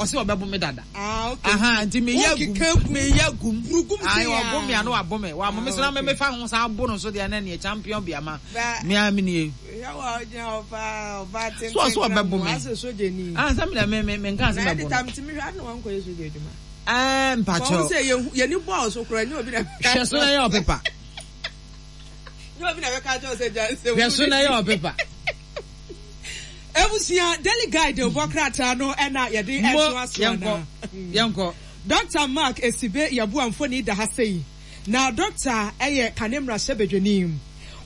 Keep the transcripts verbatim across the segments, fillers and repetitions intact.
Ɔsɛ ɔbɛbo me dada. Ah, okay. Aha, nti meyɛ Wokeka gum, meyɛ gum. Burugum Ayi, sei a. Ɔbo me ano, wabɔ me, wabɔ me Ah, so na okay. me mefa ho saa abo no so deɛ, na neɛ champion bi ama Ba- me a me nie. Hwɛ wa, ɔgyina hɔ paa, ɔbaa tenten. So ɔso ɔbɛbo me. Asɛ sogyani. Ah, sɛ me me me me nka Na sɛ mɛbo editor no. ntumi hwɛ adi na wankɔyɛ sogya adwuma. Ɛɛ Wɔn mpakyɛw. sɛ yɛhu yɛni bɔɔl so koraa, nyɛ obi na Hwɛ so na yɛ ɔpepa. Nyɛ obi na bɛka kyerɛ sɛ gya sɛ Hwɛ so na yɛ ɔpepa. Ebusua, Daily Guide bɔ krataa no ɛna yɛde Mo ɛto aso yɛnkɔ. ana. Yɛnkɔ. Doctor Mark Esibe Yɛboa mfoni da ha sei. Na doctor ɛyɛ kane mmarahyɛbadwani.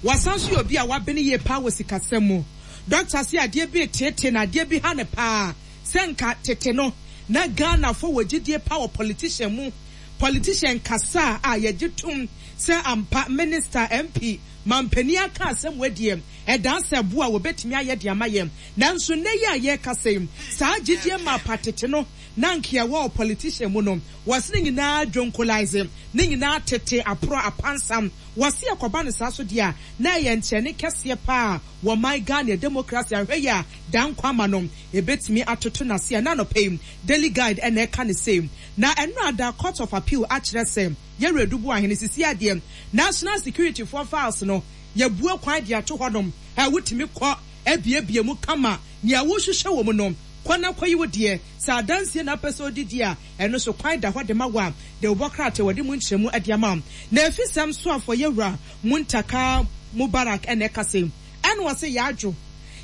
Wasan so yɛ obi a wabene yie paa wɔ sikasɛm mu. Doctor se adeɛ bi tete na adeɛ bi ha ne paa sɛ nka tete no na Ghanafoɔ wɔ gyidie paa wɔ politician mu. Politician kasa a yɛgye tom sɛ ampa minister, M P, mampanin aka asɛm wadie, ɛdan sɛ boa a wɔbɛtumi ayɛ de ama yɛn. Nanso nnɛ yi a yɛrekasa yi, saa gyidie ma pa tete no na nka ɛwɔ wɔ politician mu no, wɔse ne nyinaa dwonkolise, ne nyinaa tete aporɔ apansam. Wɔse ɛkɔba no saa so deɛ a, na ɛyɛ nkyɛne kɛseɛ paa wɔ man Ghana democracy ahwɛ yi a dan kwama no ebetumi atoto n'ase a. Na anɔpɛ yi Daily Guide ɛna ɛka ne same. Na ɛno ada Court of Appeal akyerɛ sɛ yɛwura Adu Boahene sisi adeɛ, national security foɔ files no, yɛbue kwan de ato hɔnom ɛ wotumi kɔ abiebie mu kama. Nea wohwehwɛ wɔ mu no, kɔ na kɔyi wo deɛ. Sɛ adansie na apɛ sɛ odidi a, ɛno so kwan da hɔ de ma wo a de wobɔ krataa wɔde mu nkyerɛmu de ama wo. Na efisɛm so afɔ yɛwura Muntaka Mubarak ɛna ɛka sɛ ɛna wɔsɛ yɛadwo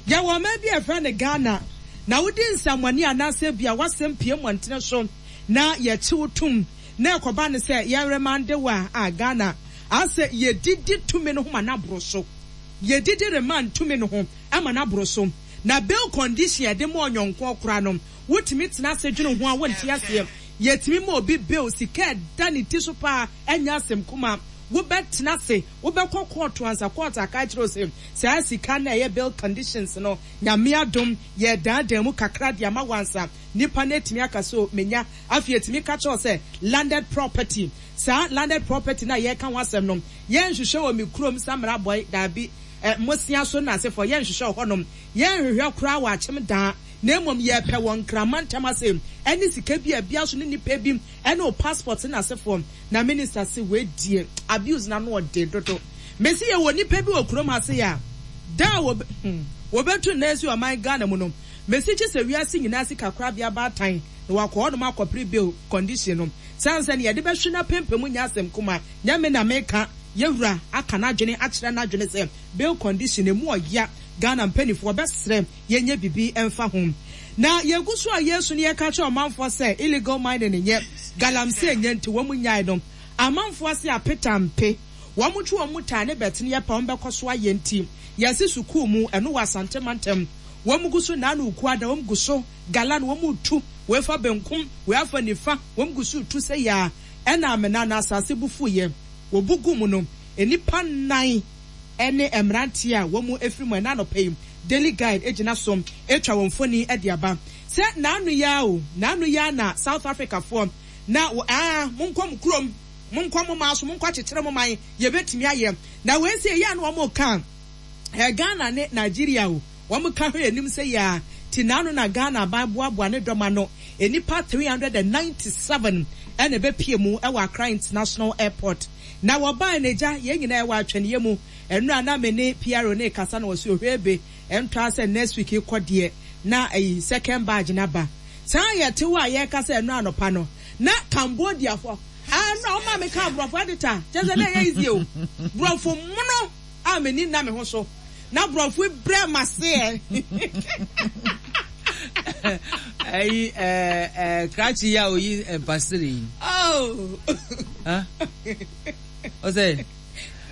yɛwɔ ɔman bi a yɛfrɛ no Ghana na wodi nsɛmmɔne anaasɛ bia wasɛm pie mmɔntene so na yɛkye wo tom na ɛkɔba no sɛ yɛremande wo a a Ghana asɛ yɛdidi tumi no ho ma n'aboro so, yɛdidi remand tumi no ho ama n'aboro so. Na bail condition yɛde ma ɔnyɔnko koraa no, wotumi tena ase dwene ho a wonte aseɛ. Yɛtumi ma obi bail, sika ɛda ne ti so paa, ɛnyɛ asɛm kuma. Wobɛtena ase, wobɛkɔ court ansa court aka kyerɛ wo sɛ saa sika no a ɛyɛ bail conditions no, Nyame adom, yɛdaadaa mu kakra de ama wansa nipa no atumi aka so menya. Afei atumi ka kyerɛ wo sɛ landed property, saa landed property na yɛka ho asɛm no, yɛnhwehwɛ wɔ me kurom samra bɔe daabi, ɛ mmosia so na asefoɔ yɛnhwehwɛ wɔ hɔnom, yɛnhwehwɛ koraa wɔ Akyem Daa, na mmom yɛpɛ wɔ Nkrama ntam ase ɛne sika bi a bia so ne nipa bi ɛne o passport na asefoɔ. Na minister se weidie abuse na no ɔde dodo. Mesi yɛ wɔ nipa bi wɔ kurom ha se a da a wɔbɛ hmm, wɔbɛtu nna esi ɔman Ghana mu no, mesi kye sɛ wiase nyinaa sika korabea baatan na wakɔ hɔnom akɔpere bail condition no san sɛ ne yɛde bɛhwe na pempem nyɛ asɛm kuma. Nyɛ na meka, yɛwura aka n'adwene akyerɛ n'adwene sɛ bail condition emu ɔya. Ghana mpanimfoɔ bɛsrɛ yɛnyɛ bibi ɛmfa ho. Na yɛgu so a yɛsu no, yɛka kyerɛ ɔmanfoɔ sɛ illegal mining nyɛ, galamsey nyɛ, nti wɔn mu nyae no, amanfoɔ ase apetampe wɔn mo twe wɔn mu taa ne bɛtene yɛ pa wɔn bɛkɔ so ayɛ. Nti yɛsi sukuu mu ɛno wɔ Asante mantam, wɔn mu gu so naanu kuada, wɔn gu so gala no, wɔn mu tu wɔn fa benkum, wɔn afa nifa, wɔn gu so tu sɛ yaa ɛna amena na asase bufu yɛ wɔbu gu mu no, nipa nnan ɛne mmeranteɛ a wɔn mu efiri mu. Ɛna anɔpɛ yi Daily Guide egyina so atwa wɔn mfoni ɛde aba sɛ n'ano ya o, n'ano ya na South Africa foɔ na wɔ aa monkɔ mo kurom, monkɔ mo maa so, monkɔ akyekyere mo man, yɛbɛtumi ayɛ. Na wei sɛ ɛyɛ a na wɔn ka ɛ Ghana ne Nigeria o, wɔn ka hwɛ anim sɛ yɛ a ti n'ano na Ghana aban boaboa ne dɔm ano, nipa three hundred and ninety seven ɛna ɛbɛpie mu ɛwɔ Accra International Airport. Na wɔbaa n'agya, yɛn nyinaa ɛwɔ atwɛneɛ mu. Ɛno a na me ne P R O ne kasa na wɔsi ohwɛ ebe ɛntɔ sɛ next week kɔ deɛ na ɛyi second batch n'aba. Saa yɛte hɔ a yɛreka sɛ ɛno anɔpa no na Cambodia fo ɛno a ɔma mi ka aborɔfo editor kyerɛ sɛ na ɛyɛ easy o. Borɔfo mono a m'ani nna me ho so na borɔfo brɛ ma seɛ. Ɛyi ɛɛ ɛɛ krakye yi a oyi mpasiri yi. Oh. Ɔsɛ.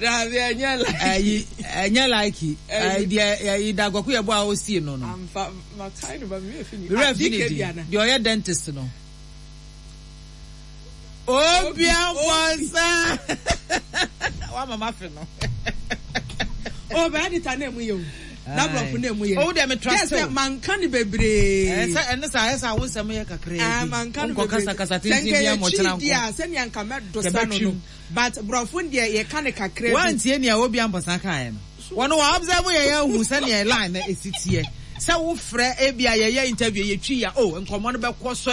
Dabi, ɛnyɛ like. Ɛyi ɛnyɛ like ɛyi deɛ ɛyi dagɔko yɛ bɔ a osie no no. Amfa makae no ba mi efi ni. Wura fi ne di deɛ ɔyɛ dentist no. Obi abɔnsa wa mama fi no. O bɛ editor na emu yɛ o, na borɔfo na emu yɛ. O de mi trust o. Sɛ manka ni bebree. Ɛ sɛ ɛne sa ɛsɛ awo nsɛm yɛ kakra bi. Manka no bebree. Nkɔ kasa kasa tenten bi amɔ kyerɛ nkɔ. Sɛ nka yɛ sɛnea nka mɛ dosa no no but borɔfo deɛ yɛ ka ne kakra bi. Wantie nea obi ampɔsa kan yɛ no, wɔn wɔ observe yɛ yɛ hu sɛnea line na esi teɛ sɛ wofrɛ ebi a yɛyɛ interview, yɛtwi ya o, nkɔmɔ no bɛkɔ so.